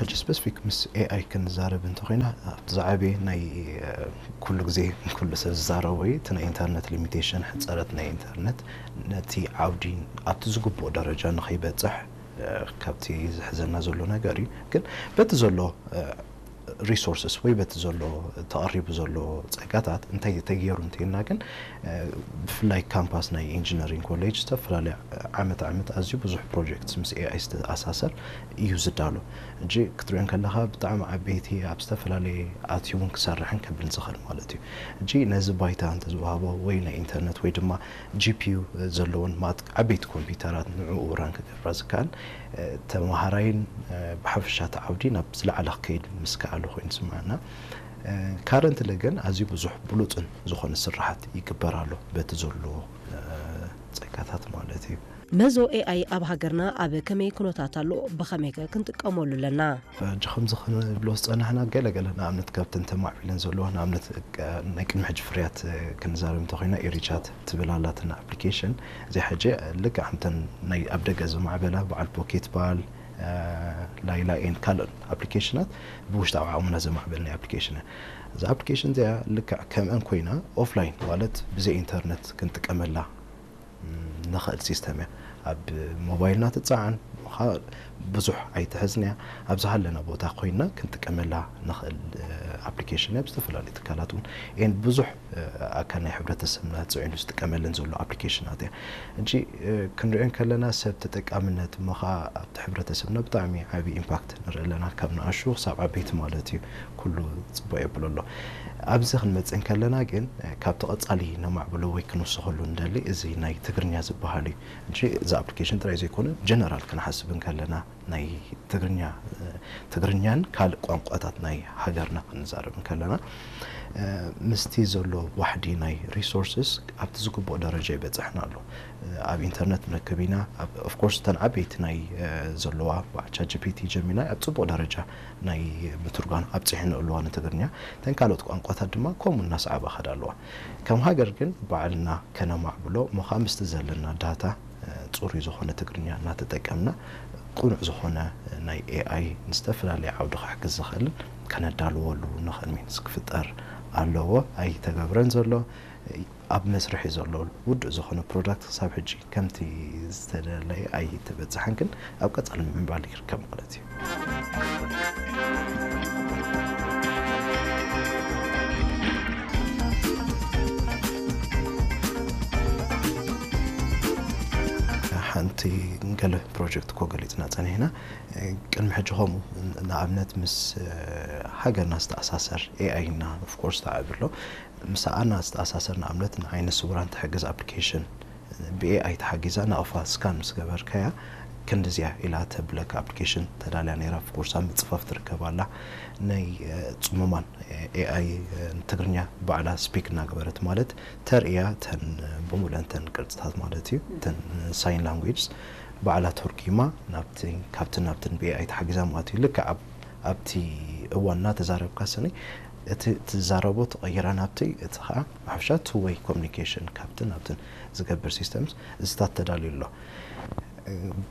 ሕጂ ስፔሲፊክ ምስ ኤኣይ ክንዛረብ እንተኾይና፣ ኣብቲ ዝዓበየ ናይ ኩሉ ግዜ ኩሉ ሰብ ዝዛረቦ እዩ። እቲ ናይ ኢንተርነት ሊሚቴሽን፣ ሕፀረት ናይ ኢንተርነት ነቲ ዓውዲ ኣብቲ ዝግብኦ ደረጃ ንኸይበፅሕ ካብቲ ዝሕዘና ዘሎ ነገር እዩ። ግን በቲ ዘሎ ሪሶርስስ ወይ በቲ ዘሎ ተቐሪቡ ዘሎ ፀጋታት እንታይ ተገይሩ እንተይልና ግን፣ ብፍላይ ካምፓስ ናይ ኢንጂነሪንግ ኮሌጅ ዝተፈላለየ ዓመት ዓመት ኣዝዩ ብዙሕ ፕሮጀክት ምስ ኤኣይ ዝተኣሳሰር እዩ ዝዳሎ። እጂ ክትሪኦ ከለኻ ብጣዕሚ ዓበይቲ ኣብ ዝተፈላለየ ኣትዩ እውን ክሰርሕን ከብልን ዝኽእል ማለት እዩ። እጂ ነዚ ባይታ እንተዝወሃቦ ወይ ናይ ኢንተርነት ወይ ድማ ጂፒዩ ዘለዎን ማት ዓበይቲ ኮምፒውተራት ንዕኡ ራን ክገብራ ዝከኣል ተመሃራይን ብሓፈሻ እቲ ዓውዲ ናብ ዝለዓለ ክከይድ ምስ ከኣለ ኮይኑ ዝስምዓና። ካረንትሊ ግን ኣዝዩ ብዙሕ ብሉፅን ዝኾነ ስራሓት ይግበር ኣሎ በቲ ዘሎ ፀጋታት ማለት እዩ። መዞ ኤኣይ ኣብ ሃገርና ኣብ ከመይ ኩነታት ኣሎ? ብኸመይከ ክንጥቀመሉ ኣለና? ሕጂ ከምዚ ክንብሎ ዝፀናሕና ገለ ገለ ንኣብነት ካብተን ተማዕቢለን ዘለዋ ንኣብነት ናይ ቅድሚ ሕጂ ፍርያት ክንዛረብ እንተኮይና ኤሪቻት ትብል ኣላትና ኣፕሊኬሽን። እዚኣ ሕጂ ልክዕ ከምተን ናይ ኣብ ደገ ዝማዕበላ በዓል ፖኬት ባል ላይላ ኤን ካልኦት ኣፕሊኬሽናት ብውሽጣዊ ዓቕምና ዘማዕበልና ኣፕሊኬሽን እያ። እዛ ኣፕሊኬሽን እዚኣ ልክዕ ከምአን ኮይና ኦፍላይን ማለት ብዘይ ኢንተርነት ክንጥቀመላ ንኽእል ሲስተም እያ። ኣብ ሞባይልና ትፀዓን ብዙሕ ኣይትሕዝን እያ። ኣብ ዝሃለና ቦታ ኮይና ክንጥቀመላ ንኽእል ኣፕሊኬሽን እያ። ብዝተፈላለዩ ትካላት እውን ኤን ብዙሕ ኣካል ናይ ሕብረተሰብና ፅዒኑ ዝጥቀመለን ዘሎ ኣፕሊኬሽናት እያ። ሕጂ ክንሪኦ ከለና ሰብ ተጠቃምነት እሞ ከዓ ኣብቲ ሕብረተሰብና ብጣዕሚ ዓብዪ ኢምፓክት ንርኢ ኣለና። ካብ ንኣሹ ክሳብ ዓበይቲ ማለት እዩ ኩሉ ፅቡቅ የብሎ ኣሎ። ኣብዚ ክንመፅእ እንከለና ግን ካብቲ ቀፃሊ ነማዕብሎ ወይ ክንውስኸሉ ንደሊ እዚ ናይ ትግርኛ ዝበሃል እዩ። ሕጂ እዚ ኣፕሊኬሽን ጥራይ ዘይኮነ ጀነራል ክንሓስብ እንከለና ናይ ትግርኛ ትግርኛን ካልእ ቋንቋታት ናይ ሃገርና ክንዛረብ እንከለና ምስቲ ዘሎ ዋሕዲ ናይ ሪሶርስስ ኣብቲ ዝግብኦ ደረጃ ይበፅሕና ኣሎ። ኣብ ኢንተርነት ንረክብ ኢና። ኦፍኮርስ እተን ዓበይቲ ናይ ዘለዋ ቻት ጂፒቲ ጀሚናይ ኣብ ፅቡቕ ደረጃ ናይ ምትርጓም ኣብፅሐን ኣለዋ ንትግርኛ። እተን ካልኦት ቋንቋታት ድማ ከምኡ እናሰዓባ ከዳ ኣለዋ። ከም ሃገር ግን ባዕልና ከነማዕብሎ እሞ ከዓ ምስቲ ዘለና ዳታ ፅሩይ ዝኾነ ትግርኛ እናተጠቀምና ቅኑዕ ዝኾነ ናይ ኤኣይ ንዝተፈላለየ ዓውዲ ክሕግዝ ዝኽእልን ከነዳልወሉ ንኽእል ሚንስ ክፍጠር ኣለዎ። ኣይተገብረን ዘሎ ኣብ መስርሕ እዩ ዘሎ። ውዱእ ዝኾነ ፕሮዳክት ክሳብ ሕጂ ከምቲ ዝተደለየ ኣይተበፅሐን፣ ግን ኣብ ቀፃሊ ምዕባል ይርከብ ማለት እዩ። ሓንቲ ገለ ፕሮጀክት እኮ ገሊፅና ፀኒሕና። ቅድሚ ሕጂ ከምኡ ንኣብነት ምስ ሃገርና ዝተኣሳሰር ኤኣይ እና ኦፍኮርስ ተዓቢ ኣሎ። ምስ ኣና ዝተኣሳሰር ንኣብነት ንዓይነ ስውራን ትሕግዝ ኣፕሊኬሽን ብኤኣይ ተሓጊዛ ናቕፋ ስካን ምስ ገበርካያ ክንድዚያ ኢላ ተብለካ ኣፕሊኬሽን ተዳልያ ነይራ። ኦፍኮርስ ኣብ ምፅፋፍ ትርከብ ኣላ። ናይ ፅሙማን ኤኣይ ትግርኛ ባዕላ ስፒክ እናገበረት ማለት ተርእያ ተን ብሙለን ተን ቅርፅታት ማለት እዩ ተን ሳይን ላንጉጅስ ባዕላ ተርጉማ ናብቲ ካብትን ናብትን ብኤኣይ ተሓጊዛ ማለት እዩ። ልክዕ ኣብ ኣብቲ እዋን እናተዛረብካ ስኒ እቲ ትዛረቦ ትቐይራ ናብቲ እቲ ከዓ ብሓፈሻ ቱ ወይ ኮሚኒኬሽን ካብትን ናብትን ዝገብር ሲስተምስ እዚታት ተዳልዩ ኣሎ።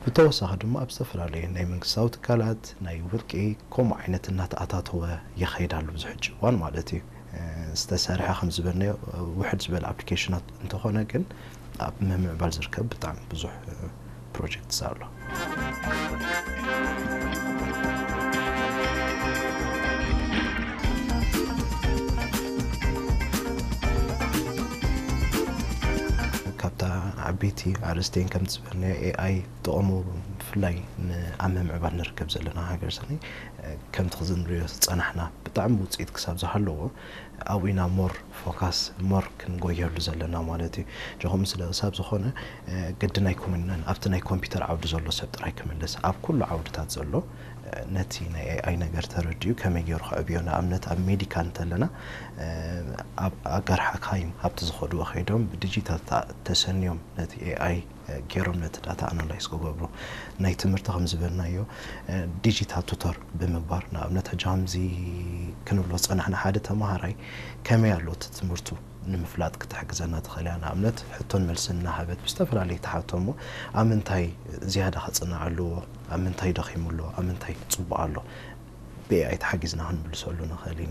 ብተወሳኺ ድማ ኣብ ዝተፈላለዩ ናይ መንግስታዊ ትካላት ናይ ውልቂ ከምኡ ዓይነት እናተኣታተወ ይኸይድ ኣሎ። ብዙ ሕጂ እዋን ማለት እዩ ዝተሰርሐ ከም ዝበልናዮ ውሕድ ዝበለ ኣፕሊኬሽናት እንተኾነ ግን ኣብ ምምዕባል ዝርከብ ብጣዕሚ ብዙሕ ፕሮጀክትስ ኣሎ። ካብታ ዓበይቲ ኣርእስቴን ከም ዝበልናዮ ኤኣይ ጥቕሙ ብፍላይ ኣብ ምምዕባል ንርከብ ዘለና ሃገር ሰኒ ከምቲ ክንሪኦ ዝፀናሕና ብጣዕሚ ውፅኢት ክሳብ ዝሃለዎ ኣብኡ ኢና ሞር ፎካስ ሞር ክንጎየሉ ዘለና ማለት እዩ። ጀኹም ስለ ክሳብ ዝኾነ ግድን ኣይኮነን ኣብቲ ናይ ኮምፒውተር ዓውዲ ዘሎ ሰብ ጥራይ ክምልስ ኣብ ኩሉ ዓውድታት ዘሎ ነቲ ናይ ኤኣይ ነገር ተረዲኡ ከመይ ገይሩ ከዕብዮ ንኣብነት ኣብ ሜዲካል እንተለና ኣብ ኣገር ሓካይም ኣብቲ ዝኸድዎ ከይዶም ብዲጂታል ተሰንዮም ነቲ ኤኣይ ገይሮም ነቲ ዳታ ኣናላይዝ ክገብሩ ናይ ትምህርቲ ከም ዝበልናዮ ዲጂታል ቱተር ብምግባር ንኣብነት ሕጂ ከምዚ ክንብሎ ዝፀናሕና ሓደ ተምሃራይ ከመይ ኣሎ እቲ ትምህርቱ ንምፍላጥ ክትሕግዘና ትኽእል እያ። ንኣብነት ሕቶን መልስን እናሃበት ብዝተፈላለየ ተሓቶ እሞ ኣብ ምንታይ ዝያዳ ከፅንዕ ኣለዎ፣ ኣብ ምንታይ ደኺሙ ኣሎ፣ ኣብ ምንታይ ፅቡቕ ኣሎ ብኤኣይ ተሓጊዝና ክንምልሰሉ ንኽእል ኢና።